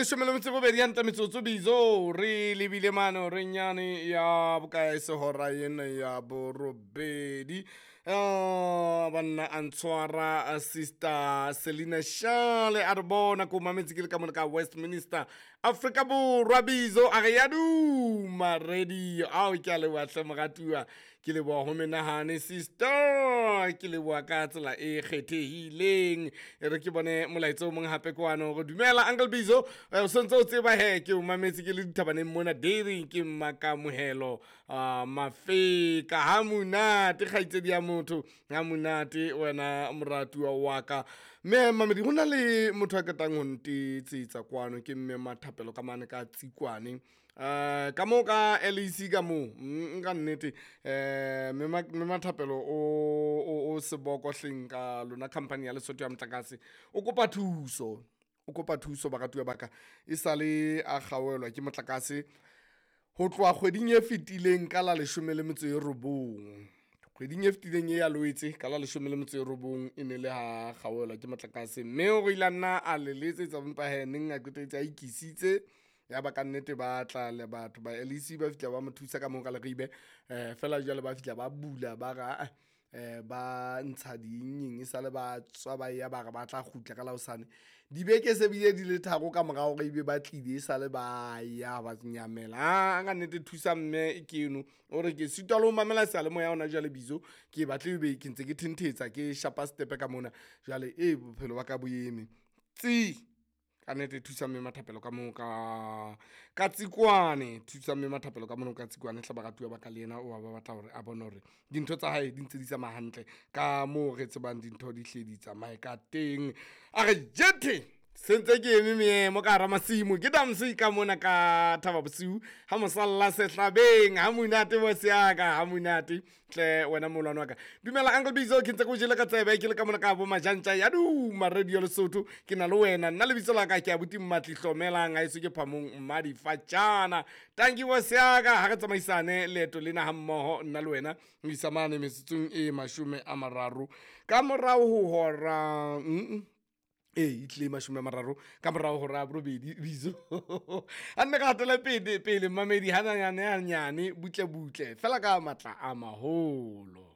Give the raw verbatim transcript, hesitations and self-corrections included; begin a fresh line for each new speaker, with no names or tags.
Leshome le metso e robedi hantle metsotso bizo re lebile mane re nyane ya bokae sehora ena ya borobedi. Ah, banna a ntshwara sister Selina Shale a re bona ko mametse ke le ka mona ka Westminster Afrika Borwa bizo a re ya duma radio. Ao ke a leboha hle moratuwa, ke leboha ho menahane sister, ke leboha ka tsela e kgethehileng. E re ke bone molaetsa o mong hape kwano hore dumela Uncle Bizo, o sontso o tseba he ke o mametse ke le dithabaneng mona dairy ke mmakamohelo uh, mafeka ha monate kgaitsedi ya motho ha monate wena moratuwa wa ka. Mme mamedi ho na le motho a qetang ho ntetsetsa kwano ke mme Mathapelo ka mane ka Tsikwane. Uh, ka moo ka L E C ka moo nka nnete eh mme Mathapelo o o seboko hleng ka lona company ya Lesotho ya motlakase o kopa thuso, o kopa thuso baratuwa ba ka. E sale a kgaolwa ke motlakase ho tloha kgweding e fetileng ka la leshome le metso e robong. Kgweding e fetileng e ya Loetse ka la leshome le metso e robong e ne le ha kgaolwa ke motlakase, mme o ile a nna a le letsetsa empa hee neng a qetetse a ikisitse. Ya ba ka nnete ba tla le batho ba L E C ba fihla ba mo thusa ka moo ka Leribe. Eh fela jwale ba fihla ba bula ba ra eh ba ntsha ding e sale ba tswa ba ya ba re ba tla kgutla ka la hosane. Dibeke se bile di le tharo ka morao hore ebe ba tlile e sale ba ya ba nyamela. Ah ka nnete thusa mme ke eno o re ke sitwa le ho mamela seyalemoya hona jwale bizo ke batle ebe ke ntse ke thentetsa ke shapa stepe ka mona jwale e bophelo ba ka bo eme tsi. Ka nnete thusa mme Mathapelo ka moo ka ka Tsikwane, thusa mme Mathapelo ka mono ka Tsikwane hle baratuwa ba ka le yena o ba batla hore a bone hore dintho tsa hae di ntse di tsamaya hantle ka moo re tsebang dintho di hle di tsamaye ka teng. A re jethe sentse ke eme meemo ka hara masimo ke damse ka mona ka Thaba Bosiu ha mosalla sehlabeng ha monate bo seaka ha monate tle wena molwana wa ka. Dumela Uncle Bizo, ke ntse ke o jele ka tsebe ke le ka mona ka bo Majantja ya duma radio Lesotho ke na le wena nna lebitso la ka ke abuti Mmatli Hlomelang ha eso ke phamong Mmadifatjana. Thank you bo seaka ha re tsamaisane leeto lena ha mmoho nna le wena ho isa mane metsotsong e mashome a mararo ka morao ho hora mm e itle mashome a mararo ka morao ho hora ya borobedi bizo. A nne ka hatela pele pele mamedi hanyane hanyane butle butle fela ka matla a maholo.